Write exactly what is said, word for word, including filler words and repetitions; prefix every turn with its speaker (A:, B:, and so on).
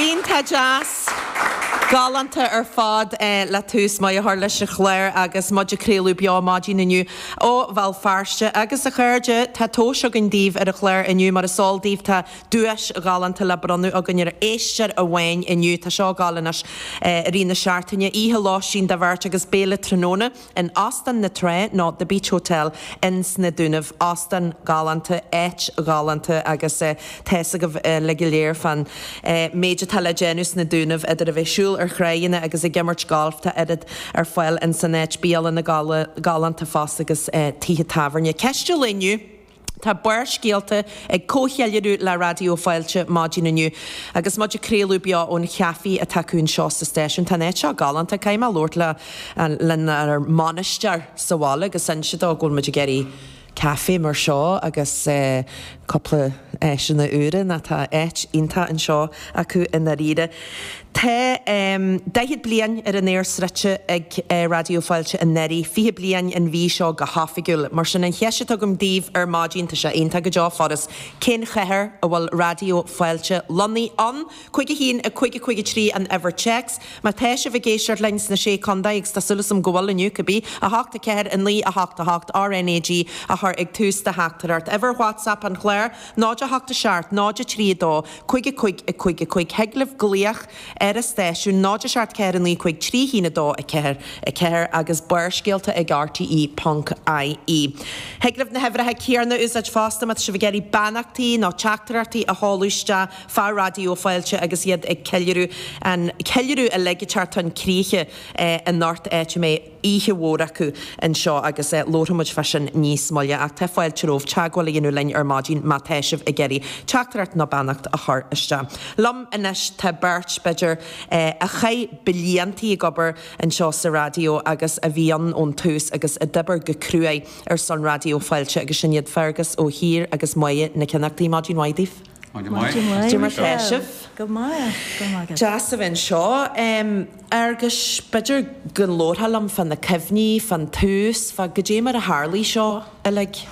A: Iontach deas. Galánta ar fad eh, le tús maith a chur leis an chlár agus muid ag craoladh beo maidin inniu ó Bhéal Feirste agus a chairde tá tomhas againn daoibh ar an chlár inniu mar is eol daoibh tá duais ghalánta le bronnadh againn ar éisteoir amháin inniu tá seo ag gabháil anois eh, i rith na seachtaine oíche lóistín do bheirt agus béile tráthnóna in Óstán na Trá nó The Beach Hotel in sna Dúnaibh óstán galánta áit ghalánta agus eh, tá a fhios agaibh eh, le go léir fán eh, méid atá le déanamh sna Dúnaibh idir a bheith ag siúl ar thráigheanna agus ag imirt golf tá oiread ar fáil in san áit bialanna galánta fosta agus eh, tithe tábhairne. Ceist an lae inniu. Tá Barrscéalta ag comhcheiliúradh le Raidió Fáilte maidin inniu agus muid ag craoladh beo ón chaife atá acu anseo sa stáisiún Tá áit seo galánta caithfidh mé labhairt le lenár mbainisteoir sa bhaile agus inse dó go bhfuil muid ag iarraidh caife mar seo agus eh, cúpla áiseanna úra na tá áit iontach anseo acu i ndáiríre. Tá um, daichead bliain ar an aer sroichte ag uh, Raidió Fáilte anuraidh, fiche bliain an mhí seo go hoifigiúil, mar sin an cheist atá agam daoibh ar maidin tá sé iontach go deo furast cén chathair a bhfuil Raidió Fáilte lonnaithe ann, Cúig a haon a cúig a cúig a trí an uimhir téacs, Má tá sibh ag éisteacht linn sna sé chontae agus tá súil agam go bhfuil inniu cibé a hocht a ceathair a naoi a hocht a hocht RNAG a chur ag tús do theachtaireacht. Uimhir WhatsApp an chláir, náid a hocht a seacht, náid a trí a dó, cúig a cúig a cúig a cúig thig libh glaoch ar an stáisiún náid a seacht ceathair a naoi cúig trí haon a dó a ceathair a ceathair agus barrscéalta ag RTE ponc IE. Thig libh na huimhreacha céanna a úsáid fosta má tá sibh ag iarraidh beannachtaí nó teachtaireachtaí a sheoladh isteach fá Raidió Fáilte agus iad ag ceiliúradh an ceiliúradh uilig ag teacht chun críche eh, anocht áit a mbeidh oíche mhór acu anseo agus eh, labharfaidh muid fá sin níos moille ach tá fáilte romhaibh teagmháil a dhéanamh linn ar maidin má tá sibh ag iarraidh teachtaireacht nó beannacht a chur isteach. Liom anois tá beirt b'fhéidir eh, a chaith bliantaí ag obair anseo sa raidió agus a bhí ann ón tús agus a d'oibir go cruaidh ar son Raidió Fáilte agus sin iad Fergus Ó hÍr agus Moya Nic Fhionnachtaigh maidin mhaith daoibh.
B: Maidin
A: mar tá sibh.
B: Go maith go maith.
A: Deas a bheith anseo um, agus b'fhéidir go labhrófá liom fá na cuimhní, fán tús, fá goidé mar a tharla seo uilig.